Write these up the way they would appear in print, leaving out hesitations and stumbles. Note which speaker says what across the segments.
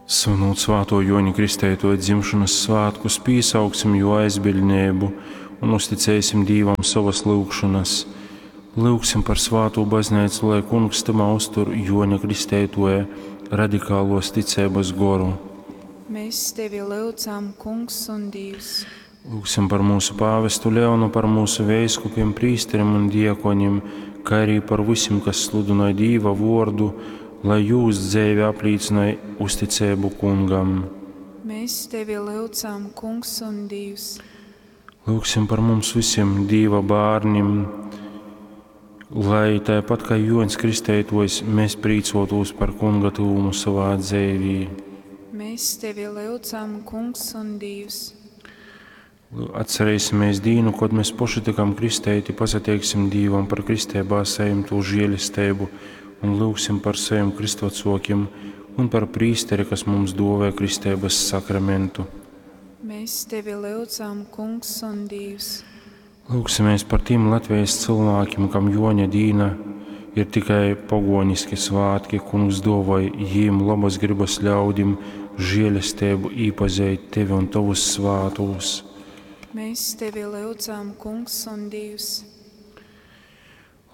Speaker 1: Svinūt Svātō Jōņa Kristeitōja dzimšonas svātkus, pīsauksim jō aizbiļdneibu un uzticēsim Dīvam sovas lyugšonas. Lyugsim par svātū Bazneicu, lai Kungs tymā uztur Jōņa Kristeitōja radikālos ticeibas goru.
Speaker 2: Mēs tevi lyudzam, Kungs un Dīvs.
Speaker 1: Lūgsim par mūsu pāvestu Leonu, par mūsu veiskupim, prīsterim un diakonim, kā arī par visim, kas sludinoj Dīva vordu, lai jūs dzeive aplīcynoj uzticeibu Kungam.
Speaker 2: Mēs tevi lyudzam, Kungs un Dīvs.
Speaker 1: Lūgsim par mums visiem Dīva bērnim, lai tāpat kā Joņs Kristeitojs, mēs prīcotos par Kunga tuvumu savā dzīvī.
Speaker 2: Mēs tevi lyudzam, Kungs un Dīvs.
Speaker 1: Atcerēsimies dīnu, kad mēs paši tikam kristeiti, pasateiksim Dīvam par kristībā saimto žēlestību un lūgsim par saviem kristvacokiem un par prīsteri, kas mums dāvāja kristības sakramentu.
Speaker 2: Mēs tevi lyudzam, Kungs un Dīvs.
Speaker 1: Lūgsimies par tiem Latvijas cilvēkiem, kam Joņa dīna ir tikai pagoniski svētki, Kungs dāvāja jīm labas gribas ļaudim žēlestību īpazīt tevi un tavus svātos.
Speaker 2: Mēs tevi lyudzam, Kungs un Dīvs.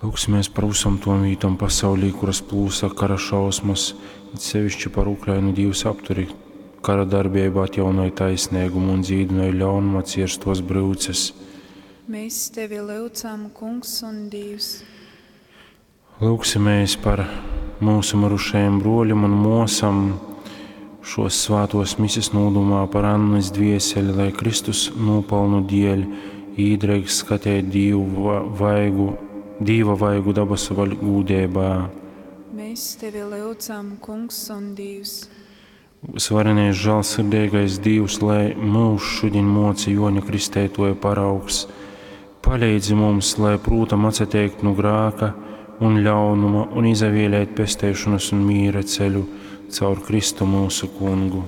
Speaker 1: Lūgsimies par visam tom vītom pasaulī, kuras plūsa kara šausmas, it sevišķi par Ukrainu. Dīvs apturi kara darbību, atjaunoja taisnīgumu un dzīdināja ļaunuma cirstos brūces.
Speaker 2: Mēs tevi lyudzam, Kungs un Dīvs.
Speaker 1: Lūgsimies par mūsu mirušajiem broļiem un mosam šos svātos mises nūdomā par Annas dvieseli, lai Kristus nopelnu dēļ īdreiks skatēt Dievu vaigu, Dīva vaigu dabasu gūdībā.
Speaker 2: Mēs tevi lyudzam, Kungs un Dīvs.
Speaker 1: Svarenais žēlsirdīgais Dievs, lai mūs šodien moca Joņa Kristētoja paraugs, palīdzi mums, lai prūtam atsateikt no grāka un ļaunuma un izavēlēt pesteišanas un mīra ceļu caur Kristu mūsu kungu.